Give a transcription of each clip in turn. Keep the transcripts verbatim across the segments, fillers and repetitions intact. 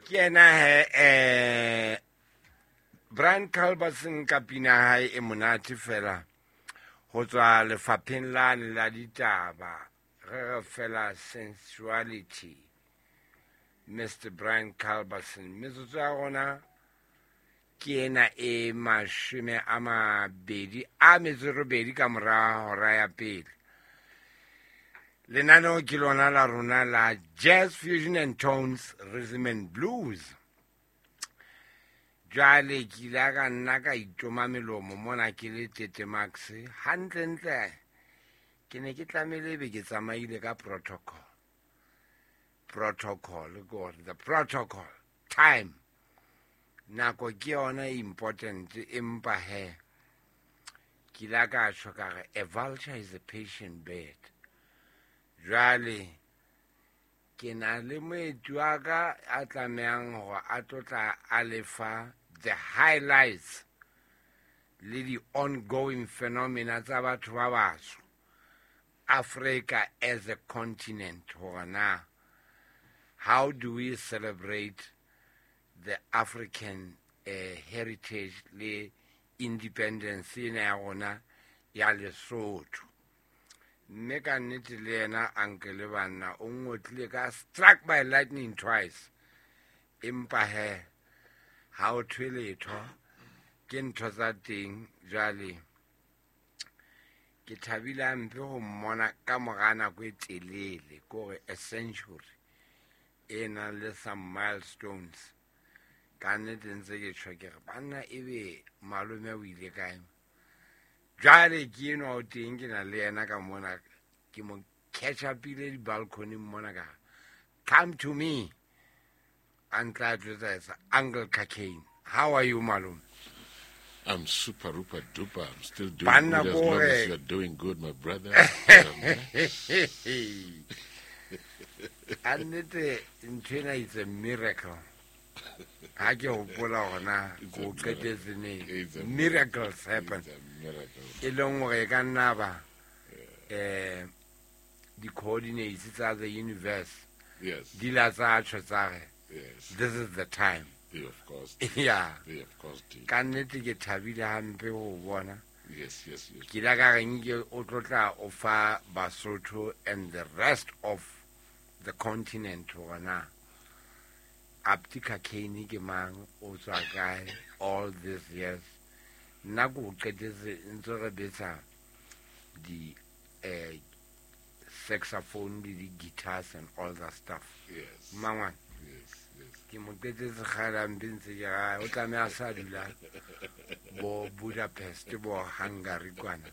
Ke yena he eh Brian Culbertson ka pina hae e monate fela ho tswa lefapheng lane la ditaba re re fela sensuality Mister Brian Culbertson metsotso ya rona ke ena e mashome a mabedi a metso e robedi ka mora hora ya pele. Lenaneo ke lona la rona la Jazz Fusion and Tones Rhythm and Blues. Jwale ke ile ka nna ka itoma melomo mona ke le Tete Max hantlentle ke ne ke tlamehile ebe ke tsamaile ka protocol. Protocol ke hore the protocol time nako ke yona e important empa he ke ile ka tjho ka re a vulture is a patient bird. Jwale ke na le moeti wa ka a tlamehang hore a tlo tla a lefa the highlights le di ongoing phenomena tsa batho ba batsho Africa as a continent hore na how do we celebrate the African uh, heritage le independence ena ya rona ya Lesotho. Mme ka nnete le yena uncle banna o ngotlile ka struck by lightning twice empa he ha o thwe letho ke ntho tsa teng. Jwale ke thabile hampe ho mmona ka mora nako e telele kore a century e nang le some milestones. Ka nnete ntse ke tjho ke re banna ebe malome o ile kae. Jwale ke enwa o teng ke na le yena ka mona ke mo catch up-ile di-balcony mona ka come to me a ntla jwetsa Uncle Khakeni. How are you malome? I'm super duper duper. I'm still doing Banna good as long as kore. you're doing good, my brother. Um, Ka nnete ntho ena it's a miracle. Ha ke hopola hona It's a ko miracle. qetetse neng. It's a Miracles happen. It's a miracle. E leng hore e ka nna ba eh di-coordinates tsa the universe Yes. di la tsa tjho tsa re Yes. this is the time. They of course did. Yeah. They of course did. Ka nnete ke thabile hampe ho bona. Yes, yes, yes. Ke ile ka re nke o tlo tla o fa Basotho and the rest of the continent hore na Abdi Khakeni ke mang, o tswa kae all these years. Nna ko qetetse ntse re betsa di eh saxophone le di guitars and all that stuff. Yes. Mangwane Yes, yes. ke mo qetetse kgale hampe ntse ke ra o tlameha a sa dula bo Budapest bo Hungary kwana.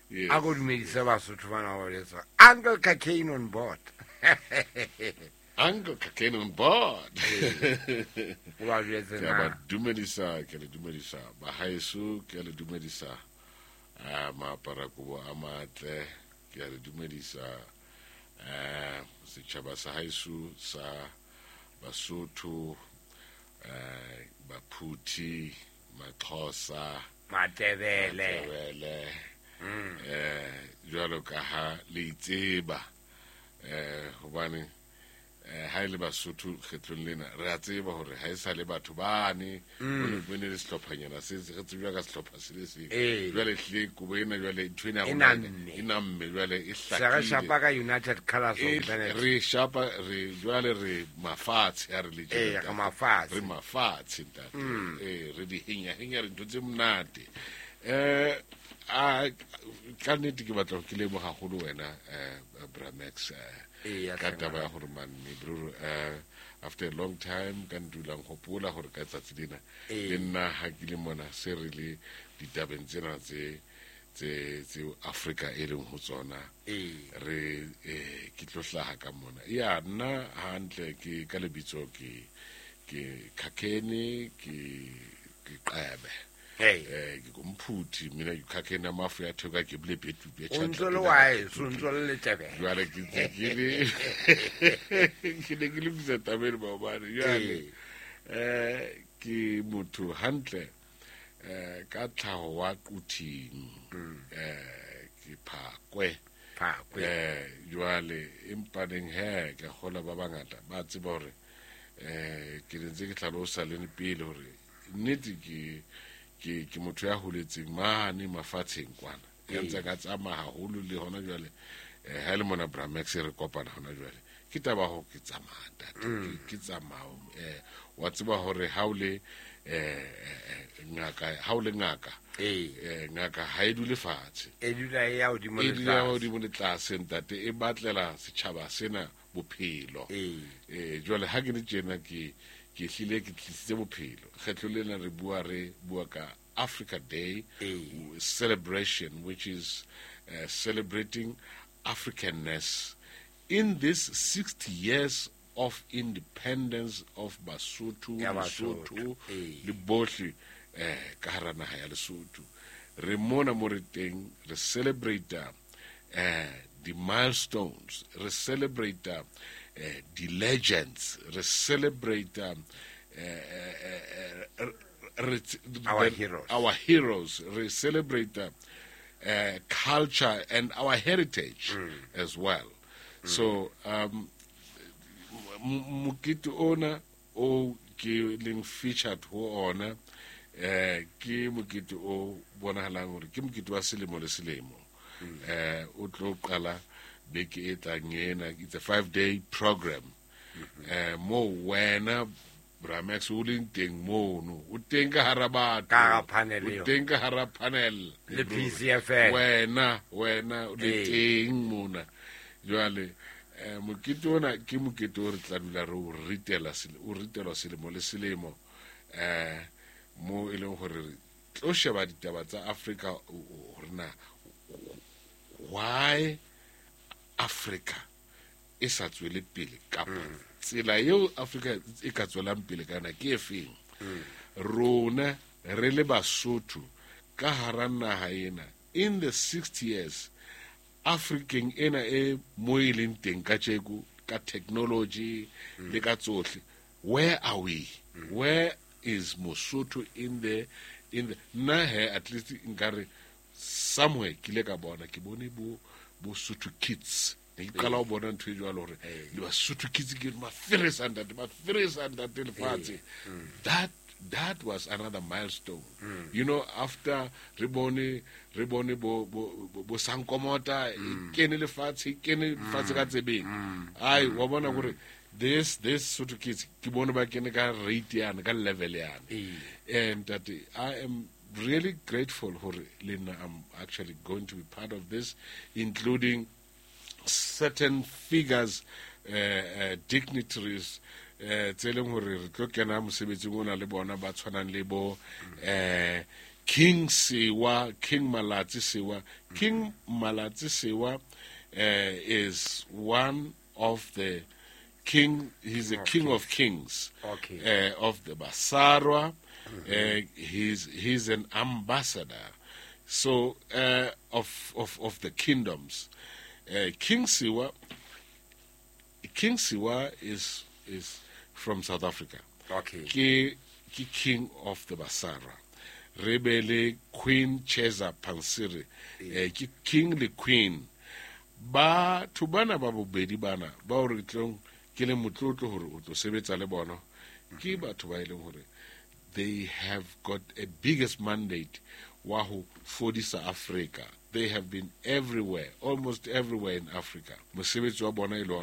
Yes. A ko dumedise Basotho bana ba boletse Uncle Khakeni on board. Uncle Khakeni on board. O ba jwetse Ke a ba na. dumedisa, ke a le dumedisa bahaeso, ke a le dumedisa ah maaparakobo a matle, ke a le dumedisa eh setjhaba sa haeso sa Basotho, eh Baphuthi, Maxhosa, Matebele. Matebele. Eh jwalo ka ha le itseba eh hobane eh ha ile Basotho kgetlong lena re a tseba hore ha e sa le batho bane ho ne ho ne le sehlophanyana se se re tsebjwa ka sehlopha se le seng. Ee. Jwale hlile kobo ena jwale ntho ena ya E rona namme. e namme jwale e Se re hlakile. shapa ka United Colors E of Benetton. re shapa re jwale re mafatshe ha re le tjena, Ee, re ntate. mafatshe. Re mafatshe ntate. Ee, re di henya henya re ntho tse monate. Eh a ka nnete ke batla ke leboha haholo wena eh Bramax eh Eya, ka hle taba ya ngwana. hore man bro eh after a long time ka ndulang hopola hore ka tsatsi lena Ee. le nna ha ke le mona se re le ditabeng tsena tse tse tse Afrika e leng ho tsona Ee. re eh ke tlo hlaha ka mona ya nna hantle ke ka lebitso ke ke Khakeni ke ke Qebe Hey. eh ke komphuthi mina ke Khakeni amafu ya thoka ke bile betu be O ntso le wa heso, o ntso le Letebele. jwale ke ntse ke le ke ne ke lokisa taba ena maobane jwale eh ke motho hantle eh ka tlhaho wa Quthing eh ke Phakwe Phakwe. eh jwale empa neng he ke kgola ba bangata ba tseba hore Eh ke ntse ke tlhalosa le pele hore nnete ke ke ke motho ya holetseng mane mafatsheng kwana. Ya ntse ka tsamaya haholo le hona jwale eh ha le mona Bramax re kopana hona jwale. Ke taba ho ke tsamaya ntate, ke tsamaya eh wa tseba hore ha o le eh ngaka ha o le ngaka eh ngaka ha e dule fatshe, e dula e ya hodimo le tlase, e dula hodimo le tlase ntate, e batlela setjhaba sena bophelo. Eh jwale ha ke le tjena ke ke hlile ke tlisitse bophelo. Kgetlo lena re bua re bua ka Africa Day celebration, which is uh, celebrating Africanness in this sixty years of independence of Basotho, Lesotho le bohle eh ka hara naha ya Lesotho. Re mona mo re teng re celebrate eh the milestones, re celebrate eh the legends, re celebrate eh our heroes, our heroes, re celebrate uh, culture and our heritage mm. as well. Mm. So um mokete ona o ke leng featured ho ona eh ke mokete o bonahalang hore ke mokete wa selemo le selemo. Eh o tlo qala beke e tlang ena, it's a five day program. Eh mo wena Bramax o leng teng mono, o teng ka hara batho, ka panel o teng ka hara panel le P C F N, wena wena o le teng mona. Jwale eh mokete ona ke mokete o re tla dula re o ritela o ritelwa selemo le selemo eh mo e leng hore re tlo sheba ditaba tsa Africa hore na why Africa e sa tswele pele kapa tsela eo Africa e ka tswelang pele kana ke efeng. Rona re le Basotho ka hara naha ena in the sixty years African ena e mo e leng teng ka tjeko ka technology le ka tsohle, where are we? Where is Mosotho in the in the nna he at least nkare somewhere ke ile ka bona ke bone bo bo Sotho kids ne ke qala ho bona ntho e jwalo hore le Basotho kids ke maferesa ntate maferesa ntate lefatshe. That that was another milestone. Mm. You know, after re bone re bone bo bo bo Sankomota kene lefatshe kene lefatshe ka tsebeng. Ai wa bona hore this this Sotho kids ke bone ba kene ka rate yana ka level yana. And that I am really grateful hore le nna I'm actually going to be part of this, including certain figures, uh, uh, dignitaries eh tse leng hore re tlo kena mosebetsing ona le bona ba tshwanang le bo eh King Sewa, King Malatsi Sewa. King Malatsi Sewa eh is one of the king, he's a king of kings. Okay. Uh, of the Basarwa. Uh, he's he's an ambassador so uh, of of of the kingdoms. Uh, King Sewa King Sewa is is from South Africa. Okay. Ke ke king of the Basara. Rebele Queen Cheza Pansiri. Eh, ke king le queen. Ba thubana ba bobedi bana ba o re tlong ke le motlotlo hore o tlo sebetsa le bona. Ke batho ba eleng hore they have got a biggest mandate wa ho fodisa Africa. They have been everywhere, almost everywhere in Africa. Mosebetsi wa bona e le ona